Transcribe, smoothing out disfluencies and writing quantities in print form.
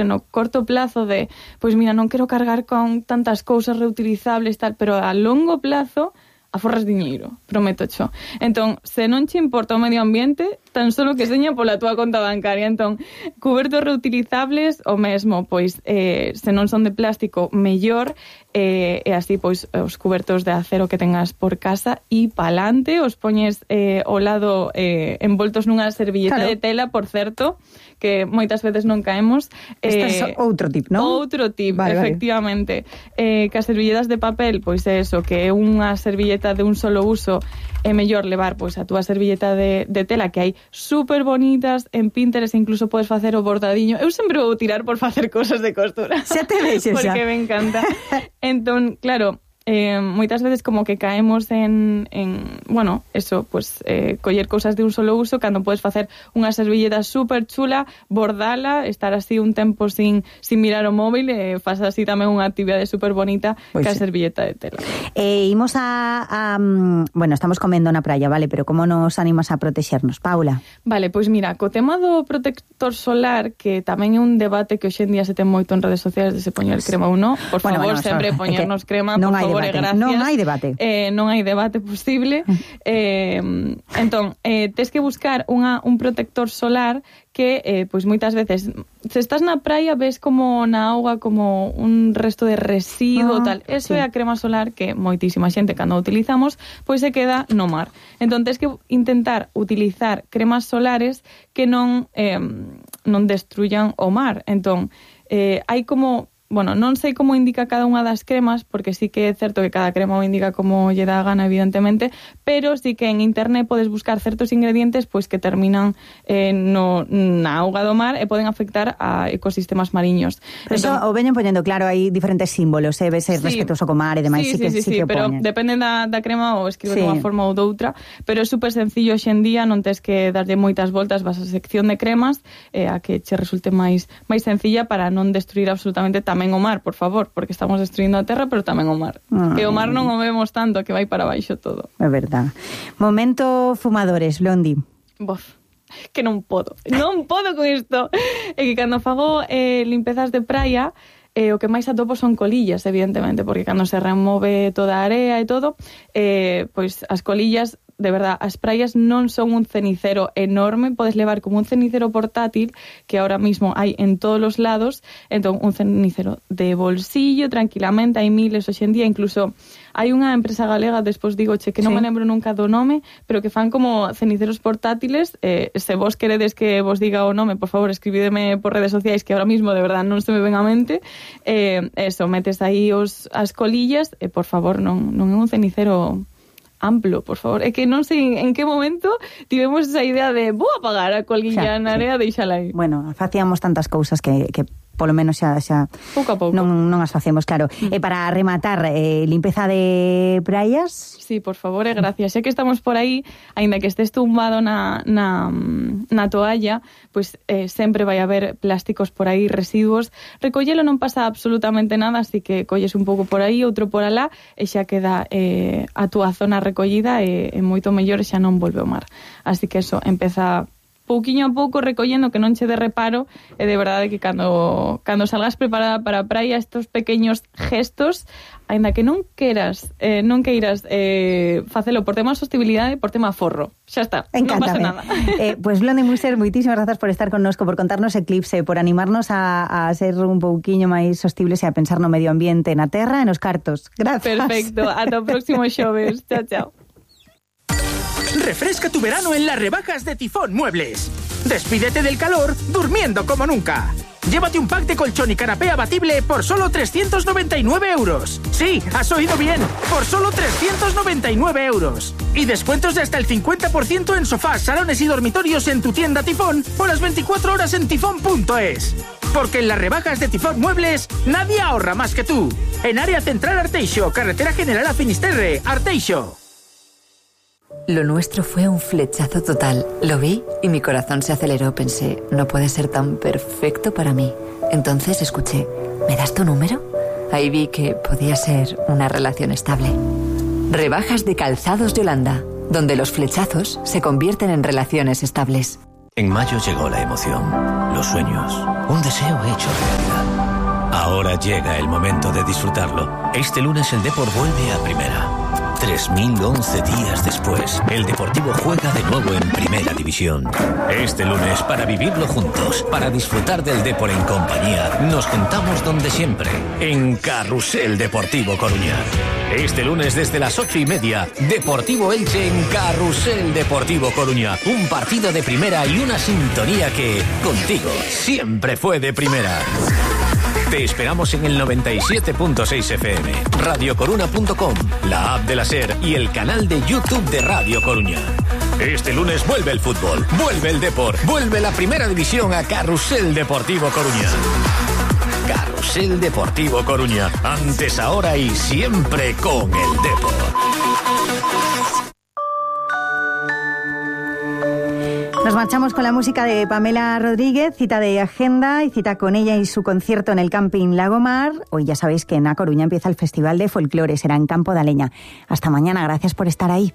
no corto plazo de, pois mira, non quero cargar con tantas cousas reutilizables tal, pero a longo plazo aforras diñeiro, prométocho. Entón, se non che importa o medio ambiente, tan solo que seña pola túa conta bancaria. Entón, cubertos reutilizables, o mesmo, pois, se non son de plástico, mellor, e así, pois, os cubertos de acero que tengas por casa, e pa'lante, os poñes ao lado envoltos nunha servilleta de tela, por certo, que moitas veces non caemos. Este é outro tip, non? Outro tip, efectivamente. Que as servilletas de papel, pois é eso, que é unha servilleta de un solo uso, é mellor levar pois a túa servilleta de tela, que hai super bonitas en Pinterest, incluso podes facer o bordadiño. Eu sempre vou tirar por facer cosas de costura. Xa te vexes, xa. Porque me encanta. Entón, claro, moitas veces como que caemos en bueno, eso, pues coller cousas de un solo uso, cando podes facer unha servilleta super chula, bordala, estar así un tempo sin mirar o móvil, faz así tamén unha actividade super bonita, pues que a servilleta de tela. Imos a bueno, estamos comendo na praia, vale, pero como nos animas a protexernos, Paula? Vale, pois mira, co tema do protector solar, que tamén é un debate que hoxe en día se ten moito en redes sociais de se poñer crema ou non, por favor, sempre poñernos crema, por favor. Gracias. Non hai debate. Non hai debate posible. Entón, tes que buscar un protector solar que, pois moitas veces, se estás na praia, ves como na auga como un resto de residuo, tal. Eso é a crema solar que moitísima xente, cando utilizamos, pois se queda no mar. Entón, tes que intentar utilizar cremas solares que non destruyan o mar. Entón, hai como... Bueno, non sei como indica cada unha das cremas, porque sí que é certo que cada crema o indica como lle dá gana, evidentemente, pero sí que en internet podes buscar certos ingredientes pois que terminan na auga do mar e poden afectar a ecosistemas mariños. Pero entón, o veñen poñendo, claro, hai diferentes símbolos, ves respetuoso co mar e demais, sí que pero depende da crema ou escribe de unha forma ou doutra, pero é super sencillo hoxe en día, non tes que darlle moitas voltas, vas a sección de cremas a que che resulte máis sencilla para non destruir absolutamente tamén o mar, por favor, porque estamos destruindo a terra, pero tamén o mar. Que o mar non o vemos tanto, que vai para baixo todo. É verdad. Momento fumadores, Blondi. Bof, que non podo con isto. É que cando fago limpezas de praia, o que máis atopo son colillas, evidentemente, porque cando se remove toda a area e todo, pois as colillas, de verdad, as praias non son un cenicero enorme, podes levar como un cenicero portátil, que ahora mismo hai en todos os lados, entón un cenicero de bolsillo, tranquilamente, hai miles hoxe en día, incluso hai unha empresa galega, despois digo, que non me lembro nunca do nome, pero que fan como ceniceros portátiles, se vos queredes que vos diga o nome, por favor, escribídeme por redes sociais, que ahora mismo, de verdad, non se me ven a mente, eso, metes aí as colillas, por favor, non é un cenicero amplo, por favor. É que non sei en que momento tivemos esa idea de vou apagar a colilla na área, deixala aí. Bueno, facíamos tantas cousas que polo menos xa pouco a pouco non as facemos, claro. E para rematar, limpeza de praias? Sí, por favor, gracias. Sé que estamos por aí, aínda que estés tumbado na toalla, pois sempre vai haber plásticos por aí, residuos. Recollelo non pasa absolutamente nada, así que colles un pouco por aí, outro por alá, e xa queda a túa zona recollida e moito mellor, xa non volve ao mar. Así que eso, empeza pouquiño a pouco recollendo, que non che de reparo, e de verdade que cando salgas preparada para a praia, estos pequeños gestos, aínda que non queiras facelo por tema sostenibilidade, por tema forro. Xa está, encántame. Non pasa nada. Pues Blondi Muser, moitísimas grazas por estar connosco, por contarnos Eclipse, por animarnos a ser un pouquiño máis sostibles e a pensar no medio ambiente, na terra e nos cartos. Grazas. Perfecto, ata o próximo xoves. Chao, chao. Refresca tu verano en las rebajas de Tifón Muebles. Despídete del calor durmiendo como nunca. Llévate un pack de colchón y canapé abatible por solo 399 euros. Sí, has oído bien, por solo 399 euros. Y descuentos de hasta el 50% en sofás, salones y dormitorios en tu tienda Tifón o las 24 horas en tifón.es. Porque en las rebajas de Tifón Muebles nadie ahorra más que tú. En área central Arteixo, carretera general a Finisterre, Arteixo. Lo nuestro fue un flechazo total. Lo vi y mi corazón se aceleró. Pensé, no puede ser tan perfecto para mí. Entonces escuché, ¿me das tu número? Ahí vi que podía ser una relación estable. Rebajas de Calzados Yolanda, donde los flechazos se convierten en relaciones estables. En mayo llegó la emoción, los sueños, un deseo hecho realidad. Ahora llega el momento de disfrutarlo. Este lunes el Depor vuelve a primera. 3011 días después, el Deportivo juega de nuevo en Primera División. Este lunes, para vivirlo juntos, para disfrutar del Depor en compañía, nos juntamos donde siempre, en Carrusel Deportivo Coruña. Este lunes desde las 8:30, Deportivo Elche en Carrusel Deportivo Coruña. Un partido de primera y una sintonía que, contigo, siempre fue de primera. Te esperamos en el 97.6 FM, radiocoruna.com, la app de la SER y el canal de YouTube de Radio Coruña. Este lunes vuelve el fútbol, vuelve el Depor, vuelve la Primera División a Carrusel Deportivo Coruña. Carrusel Deportivo Coruña, antes, ahora y siempre con el Depor. Nos marchamos con la música de Pamela Rodríguez, cita de agenda y cita con ella y su concierto en el Camping Lagomar. Hoy ya sabéis que en A Coruña empieza el Festival de Folclore, será en Campo de Aleña. Hasta mañana, gracias por estar ahí.